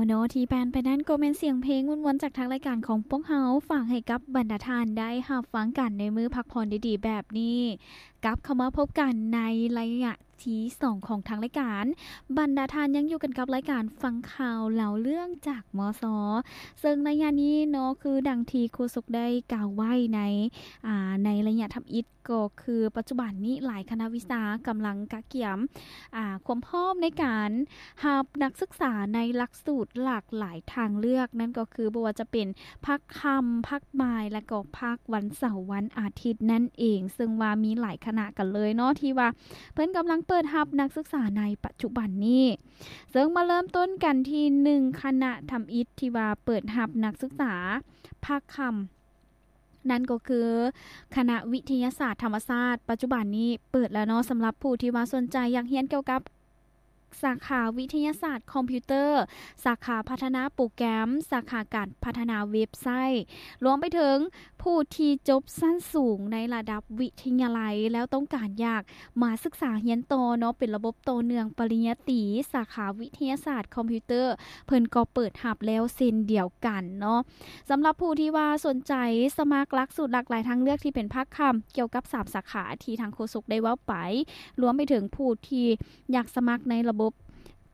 ເນາະ ທີ່ຜ່ານໄປນັ້ນກໍແມ່ນສຽງເພງມ່ວນໆຈາກທາງລາຍການຂອງພວກເຮົາ ຝາກໃຫ້ກັບບັນດາທ່ານໄດ້ຮັບຟັງກັນໃນມື້ພັກຜ່ອນດີໆແບບນີ້. ກັບເຂົ້າມາພົບກັນໃນໄລຍະທີສອງຂອງທາງລາຍການ. ບັນດາທ່ານຍັງຢູ່ກັນກັບລາຍການຟັງຂ່າວເລົ່າເລື່ອງຈາກ ມສ ເຊິ່ງໄລຍະນີ້ເນາະ ຄືດັ່ງທີ່ໂຄສົກໄດ້ກ່າວໄວ້ໃນ ອາ ໃນໄລຍະທຳອິດ ກໍຄືປັດຈຸບັນນີ້ຫຼາຍຄະນະວິຊາກຳລັງກະກຽມ ອາ ຄວາມພ້ອມໃນການຮັບນັກສຶກສາໃນຫຼັກສູດຫຼາກຫຼາຍທາງເລືອກ, ນັ້ນກໍຄືບໍ່ວ່າຈະເປັນພາກຄ່ຳ, ພາກບ່າຍ ແລະ ກໍພາກວັນເສົາ, ວັນອາທິດນັ້ນເອງ, ເຊິ່ງວ່າມີຫຼາຍຄະນະກັນເລີຍເນາະ ທີ່ວ່າເພິ່ນກຳລັງເປີດຮັບນັກສຶກສາໃນປັດຈຸບັນນີ້. ເຊິ່ງມາເລີ່ມຕົ້ນກັນທີ່ໜຶ່ງຄະນະທຳອິດທີ່ວ່າເປີດຮັບນັກສຶກສາພາກຄ່ຳ ນັ້ນກໍຄືຄະນະວິທະຍາສາດທຳມະຊາດ. ປັດຈຸບັນນີ້ເປີດແລ້ວເນາະ ສຳລັບຜູ້ທີ່ວ່າສົນໃຈຢາກຮຽນກ່ຽວກັບສາຂາວິທະຍາສາດຄອມພິວເຕີ, ສາຂາພັດທະນາໂປຣແກຣມ, ສາຂາການພັດທະນາເວັບໄຊ, ລວມໄປເຖິງຜູ້ທີ່ຈົບຊັ້ນສູງໃນລະດັບວິທະຍາໄລ ແລ້ວຕ້ອງການຢາກ ມາສຶກສາຮຽນຕໍ່ເນາະ ເປັນລະບົບຕໍ່ເນື່ອງປະລິນຍາຕີ ສາຂາວິທະຍາສາດຄອມພິວເຕີ ເພິ່ນກໍເປີດຮັບແລ້ວເຊັ່ນດຽວກັນເນາະ. ສຳລັບຜູ້ທີ່ວ່າສົນໃຈສະໝັກຫຼັກສູດຫຼາກຫຼາຍທາງເລືອກທີ່ເປັນພາກຄ່ຳ ກ່ຽວກັບສາມສາຂາທີ່ທາງໂຄສົກໄດ້ເວົ້າໄປ, ລວມໄປເຖິງຜູ້ທີ່ຢາກສະໝັກໃນລະບົບ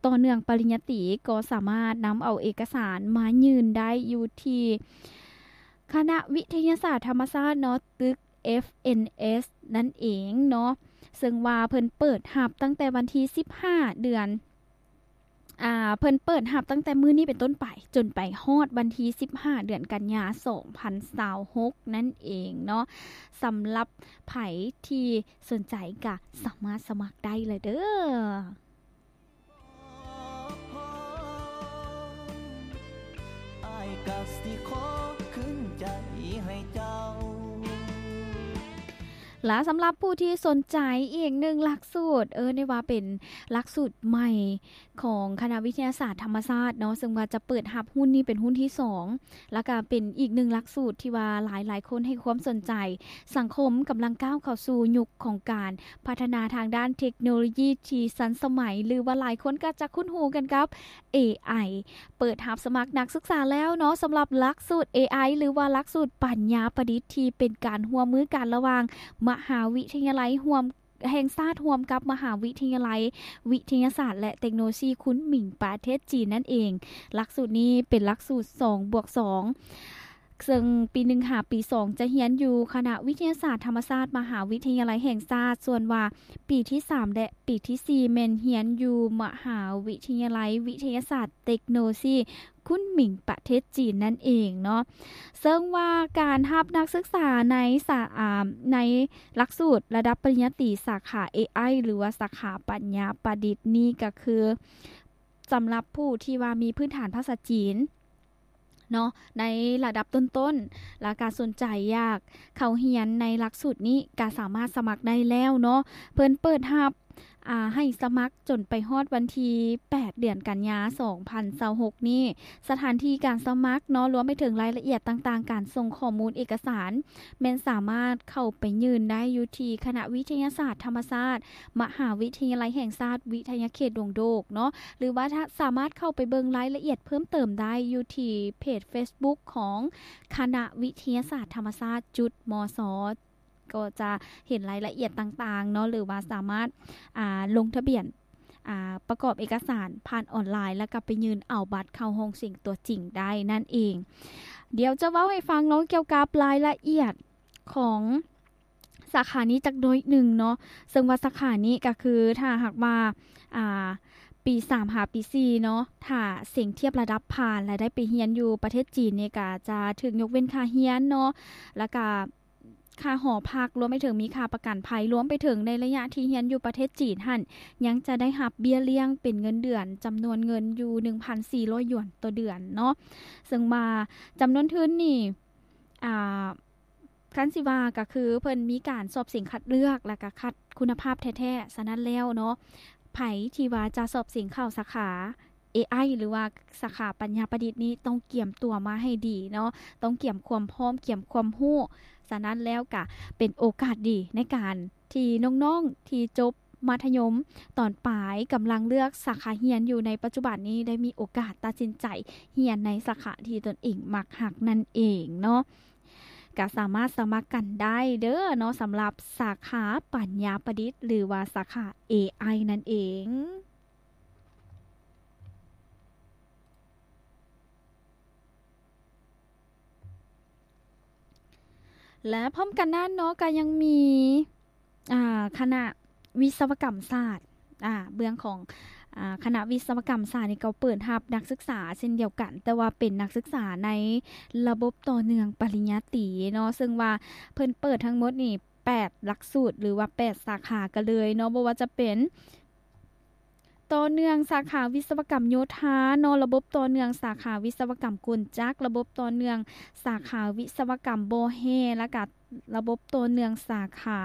ຕໍ່ເນື່ອງປະລິນຍາຕີ ກໍສາມາດນຳເອົາເອກະສານມາຍື່ນໄດ້ຢູ່ທີ່ຄະນະວິທະຍາສາດທຳມະຊາດເນາະ ຕຶກ ເອັຟເອັນເອັສ ນັ້ນເອງເນາະ, ເຊິ່ງວ່າເພິ່ນເປີດຮັບຕັ້ງແຕ່ວັນທີສິບຫ້າ ເດືອນ ອາ ເພິ່ນເປີດຮັບຕັ້ງແຕ່ມື້ນີ້ເປັນຕົ້ນໄປ ຈົນໄປຮອດວັນທີສິບຫ້າ ເດືອນກັນຍາ ສອງພັນຊາວຫົກ ນັ້ນເອງເນາະ. ສຳລັບໃຜທີ່ສົນໃຈກະສາມາດສະໝັກໄດ້ເລີຍເດີ້. ອ້າຍກະຊິຂໍຄືນໃຈໃຫ້ເຈົ້າ. ລະສຳລັບຜູ້ທີ່ສົນໃຈອີກໜຶ່ງຫຼັກສູດ, ເອີ້ນໄດ້ວ່າເປັນຫຼັກສູດໃໝ່ຂອງຄະນະວິທະຍາສາດທຳມະຊາດເນາະ, ເຊິ່ງວ່າຈະເປີດຮັບຮຸ່ນນີ້ເປັນຮຸ່ນທີສອງ ລະກະເປັນອີກໜຶ່ງຫຼັກສູດທີ່ວ່າຫຼາຍໆຄົນໃຫ້ຄວາມສົນໃຈ. ສັງຄົມກຳລັງກ້າວເຂົ້າສູ່ຍຸກຂອງການ ພັດທະນາທາງດ້ານເທັກໂນໂລຢີທີ່ທັນສະໄໝ ຫຼືວ່າຫຼາຍຄົນກໍຈະຄຸ້ນຫູກັນກັບ ເອໄອ. ເປີດຮັບສະໝັກນັກສຶກສາແລ້ວເນາະ ສຳລັບຫຼັກສູດ ເອໄອ ຫຼືວ່າຫຼັກສູດປັນຍາປະດິດ ທີ່ເປັນການຮ່ວມມືກັນລະຫວ່າງມະຫາວິທະຍາໄລຮ່ວມ ແຫ່ງຊາດ ຮ່ວມກັບມະຫາວິທະຍາໄລວິທະຍາສາດ ແລະ ເຕັກໂນໂລຊີຄຸນໝິງ ປະເທດຈີນນັ້ນເອງ. ຫຼັກສູດນີ້ເປັນຫຼັກສູດສອງບວກສອງ ເຊິ່ງປີໜຶ່ງຫາປີສອງຈະຮຽນຢູ່ຄະນະວິທະຍາສາດທຳມະຊາດ ມະຫາວິທະຍາໄລແຫ່ງຊາດ, ສ່ວນວ່າປີທີສາມ ແລະ ປີທີສີ່ແມ່ນຮຽນຢູ່ມະຫາວິທະຍາໄລວິທະຍາສາດເຕັກໂນໂລຊີຄຸນໝິງ ປະເທດຈີນນັ້ນເອງເນາະ. ເຊິ່ງວ່າການຮັບນັກສຶກສາໃນສາ ອາ ໃນຫຼັກສູດລະດັບປະລິນຍາຕີສາຂາ ເອໄອ ຫຼືວ່າສາຂາປັນຍາປະດິດນີ້ ກໍຄືສຳລັບຜູ້ທີ່ວ່າມີພື້ນຖານພາສາຈີນ ເນາະ ໃນລະດັບຕົ້ນໆ ແລະ ກະສົນໃຈຢາກເຂົ້າຮຽນໃນຫຼັກສູດນີ້ ກະສາມາດສະໝັກໄດ້ແລ້ວເນາະ. ເພິ່ນເປີດຮັບ ອາ ໃຫ້ສະໝັກຈົນໄປຮອດວັນທີແປດ ເດືອນກັນຍາ ສອງພັນຊາວຫົກນີ້. ສະຖານທີ່ການສະໝັກເນາະ ລວມໄປເຖິງລາຍລະອຽດຕ່າງໆ ການສົ່ງຂໍ້ມູນເອກະສານ ແມ່ນສາມາດເຂົ້າໄປຍື່ນໄດ້ຢູ່ທີ່ຄະນະວິທະຍາສາດທຳມະຊາດ ມະຫາວິທະຍາໄລແຫ່ງຊາດ ວິທະຍາເຂດດົງໂດກເນາະ ຫຼືວ່າສາມາດເຂົ້າໄປເບິ່ງລາຍລະອຽດເພີ່ມເຕີມໄດ້ຢູ່ທີ່ເພຈເຟສບຸກຂອງຄະນະວິທະຍາສາດທຳມະຊາດ ຈຸດ ມສ ກໍຈະເຫັນລາຍລະອຽດຕ່າງໆເນາະ ຫຼືວ່າສາມາດ ອາ ລົງທະບຽນ ອາ ປະກອບເອກະສານຜ່ານອອນລາຍ ແລ້ວກໍໄປຍື່ນເອົາບັດເຂົ້າຫ້ອງເສັງຕົວຈິງໄດ້ນັ້ນເອງ. ດຽວຈະເວົ້າໃຫ້ຟັງເນາະ ກ່ຽວກັບລາຍລະອຽດຂອງ ສາຂານີ້ຈັກໜ້ອຍໜຶ່ງເນາະ, ເຊິ່ງວ່າສາຂານີ້ກະຄື ຖ້າຫາກວ່າ ອາ ປີສາມຫາປີສີ່ເນາະ ຖ້າເສັງທຽບລະດັບຜ່ານ ແລະ ໄດ້ໄປຮຽນຢູ່ປະເທດຈີນນີ້ ກະຈະຖືກຍົກເວັ້ນຄ່າຮຽນເນາະ ແລ້ວກະຄ່າຫໍພັກ, ລວມໄປເຖິງມີຄ່າປະກັນໄພ, ລວມໄປເຖິງໃນໄລຍະທີ່ຮຽນຢູ່ປະເທດຈີນຫັ້ນ ຍັງຈະໄດ້ຮັບເບ້ຍລ້ຽງເປັນເງິນເດືອນ ຈຳນວນເງິນຢູ່ໜຶ່ງພັນສີ່ຮ້ອຍຢວນຕໍ່ເດືອນເນາະ. ເຊິ່ງວ່າຈຳນວນທຶນນີ້ ອາ ຄັນຊິວ່າກະຄືເພິ່ນມີການສອບເສັງຄັດເລືອກ ແລ້ວກະຄັດຄຸນນະພາບແທ້ໆ. ສະນັ້ນແລ້ວເນາະ ໃຜທີ່ວ່າຈະສອບເສັງເຂົ້າສາຂາ ເອໄອ ຫຼືວ່າສາຂາປັນຍາປະດິດນີ້ ຕ້ອງກຽມຕົວມາໃຫ້ດີເນາະ, ຕ້ອງກຽມຄວາມພ້ອມ, ກຽມຄວາມຮູ້. ສະນັ້ນແລ້ວກະເປັນໂອກາດດີໃນການທີ່ນ້ອງໆທີ່ຈົບ ມັດທະຍົມຕອນປາຍ ກຳລັງເລືອກສາຂາຮຽນຢູ່ໃນປັດຈຸບັນນີ້ ໄດ້ມີໂອກາດຕັດສິນໃຈຮຽນໃນສາຂາທີ່ຕົນເອງມັກຮັກນັ້ນເອງເນາະ. ກໍສາມາດສະໝັກກັນໄດ້ເດີເນາະ ສຳລັບສາຂາປັນຍາປະດິດ ຫຼືວ່າສາຂາ ເອໄອ ນັ້ນເອງ. ແລະ ພ້ອມກັນນັ້ນເນາະ ກໍຍັງມີ ອ່າ ຄະນະວິສະວະກຳສາດ ອ່າ ເບື້ອງຂອງ ອ່າ ຄະນະວິສະວະກຳສາດນີ້ກໍເປີດຮັບນັກສຶກສາເຊັ່ນດຽວກັນ, ແຕ່ວ່າເປັນນັກສຶກສາໃນລະບົບຕໍ່ເນື່ອງປະລິນຍາຕີເນາະ, ເຊິ່ງວ່າເພິ່ນເປີດທັງໝົດນີ້ແປດຫຼັກສູດ ຫຼືວ່າແປດສາຂາກັນເລີຍເນາະ, ບໍ່ວ່າຈະເປັນ ຕໍ່ເນື່ອງສາຂາວິສະວະກຳໂຍທາເນາະ, ລະບົບຕໍ່ເນື່ອງສາຂາວິສະວະກຳກົນຈັກ, ລະບົບຕໍ່ເນື່ອງສາຂາວິສະວະກຳບໍ່ແຮ່ ແລ້ວກະລະບົບຕໍ່ເນື່ອງສາຂາ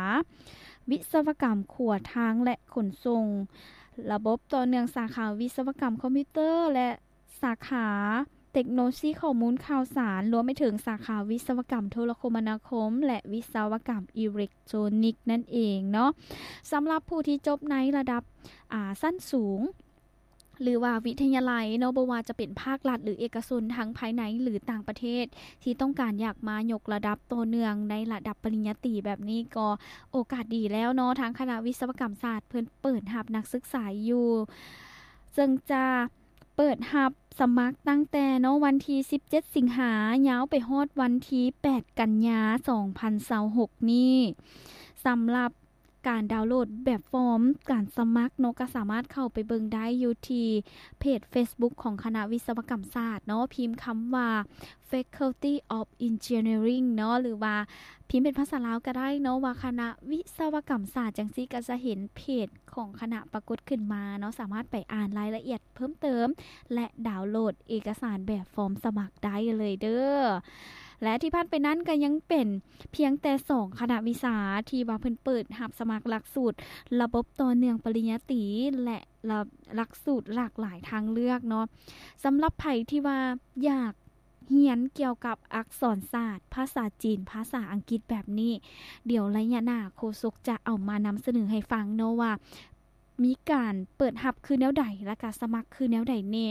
ວິສະວະກຳຂົວທາງ ແລະ ຂົນສົ່ງ, ລະບົບຕໍ່ເນື່ອງສາຂາວິສະວະກຳຄອມພິວເຕີ ແລະ ສາຂາເຕັກໂນໂລຊີຂໍ້ມູນຂ່າວສານ, ລວມໄປເຖິງສາຂາວິສະວະກຳໂທລະຄົມມະນາຄົມ ແລະ ວິສະວະກຳອີເລັກໂທຣນິກນັ້ນເອງເນາະ. ສຳລັບຜູ້ທີ່ຈົບໃນລະດັບ ອ່າ ຊັ້ນສູງ ຫຼືວ່າວິທະຍາໄລເນາະ, ບໍ່ວ່າຈະເປັນພາກລັດ ຫຼື ເອກະຊົນ ທັງພາຍໃນ ຫຼື ຕ່າງປະເທດ ທີ່ຕ້ອງການຢາກມາຍົກລະດັບຕໍ່ເນື່ອງໃນລະດັບປະລິນຍາຕີແບບນີ້ ກໍໂອກາດດີແລ້ວເນາະ. ທາງຄະນະວິສະວະກຳສາດເພິ່ນເປີດຮັບນັກສຶກສາຢູ່ ເຊິ່ງຈະ ເປີດຮັບສະໝັກຕັ້ງແຕ່ເນາະ ວັນທີສິບເຈັດສິງຫາ ຍາວໄປຮອດວັນທີແປດກັນຍາ ສອງພັນຊາວຫົກນີ້. ສຳລັບການດາວໂຫຼດແບບຟອມການສະໝັກເນາະ ກໍສາມາດເຂົ້າໄປເບິ່ງໄດ້ຢູ່ທີ່ເພຈເຟສບຸກຂອງຄະນະວິສະວະກຳສາດເນາະ, ພິມຄຳວ່າ Faculty of Engineering ເນາະ ຫຼືວ່າພິມເປັນພາສາລາວກໍໄດ້ເນາະ ວ່າຄະນະວິສະວະກຳສາດ ຈັ່ງຊີ້ກໍຈະເຫັນເພຈຂອງຄະນະປາກົດຂຶ້ນມາເນາະ, ສາມາດໄປອ່ານລາຍລະອຽດເພີ່ມເຕີມ ແລະ ດາວໂຫຼດເອກະສານແບບຟອມສະໝັກໄດ້ເລີຍເດີ. ແລະ ທີ່ຜ່ານໄປນັ້ນກໍຍັງເປັນພຽງແຕ່ສອງຄະນະວິຊາທີ່ວ່າເພິ່ນເປີດຮັບສະໝັກຫຼັກສູດລະບົບຕໍ່ເນື່ອງປະລິນຍາຕີ ແລະ ລະ ຫຼັກສູດຫຼາກຫຼາຍທາງເລືອກເນາະ. ສຳລັບໃຜທີ່ວ່າຢາກ ຮຽນກ່ຽວກັບອັກສອນສາດ, ພາສາຈີນ, ພາສາອັງກິດແບບນີ້, ດຽວໄລຍະໜ້າໂຄສົກຈະເອົາມານຳສະເໜີໃຫ້ຟັງເນາະ ວ່າມີການເປີດຮັບຄືແນວໃດ ແລະກະສະໝັກຄືແນວໃດແດ່,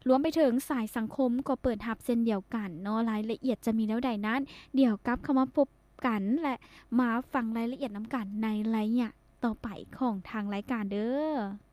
ລວມໄປເຖິງສາຍສັງຄົມກໍເປີດຮັບເຊັ່ນດຽວກັນເນາະ. ລາຍລະອຽດຈະມີແນວໃດນັ້ນ ດຽວກັບເຂົ້າມາພົບກັນ ແລະ ມາຟັງລາຍລະອຽດນຳກັນໃນໄລຍະຕໍ່ໄປຂອງທາງລາຍການເດີ.